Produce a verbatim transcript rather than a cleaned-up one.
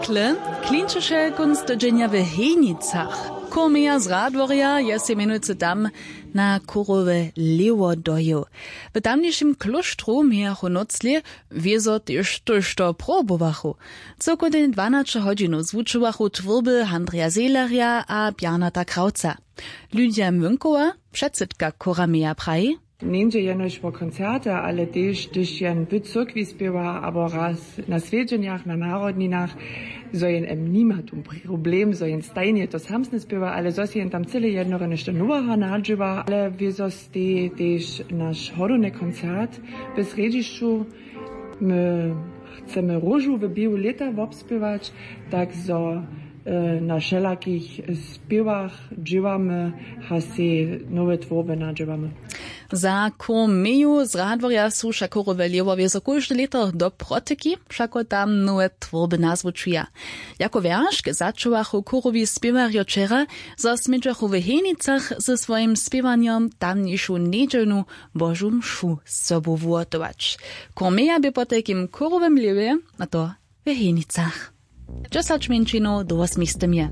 Kle klinčeše kónc tydźenja w Hejnicach. Chór meja z Radworja je sej mjenujcy tam na chórowe lěwo dojěł. W tamnišim klóštru mějachu noclě, wězo tež tójšto probowachu. Cyłkownje dwanaće hodźinow zwučowachu twórby Andreja Zehlerja a Bjarnata Krawca. Lydia Młynkowa, předsydka chóra meja, praji: Njeńdźe jenož wo koncerty, ale tež hdyž jen w cyrkwi spěwa abo raz na swjedźenjach, na narodninach, zo jen em nima tu problem, zo jen stajnje to samsne spěwa, ale zo sej jen tam cyle jednoho něšto noweho nadźěła. Ale wězo stej tež naš hodowny koncert w srjedźišću. My chcemy róžu w běhu lěta wobspěwać, tak zo na wšelakich spěwach dźěłamy a sej nowe twórby nadźěłamy. Za chór meju z Radworja su wšak chórowe lěhwo wězo kóžde lěto do protyki, wšako tam nowe twórby nazwučuja. Jako wjeršk začuwachu chórowi spěwarjo wčera, zo smědźachu w Hejnicach ze swojim spěwanjom tamnišu njedźelnu Božu mšu z sobu wuhotować. Chór meja bě potajkim w chórowym lěhwje, a to w Hejnicach. Dźesać mjeńšinow do wosmistymje.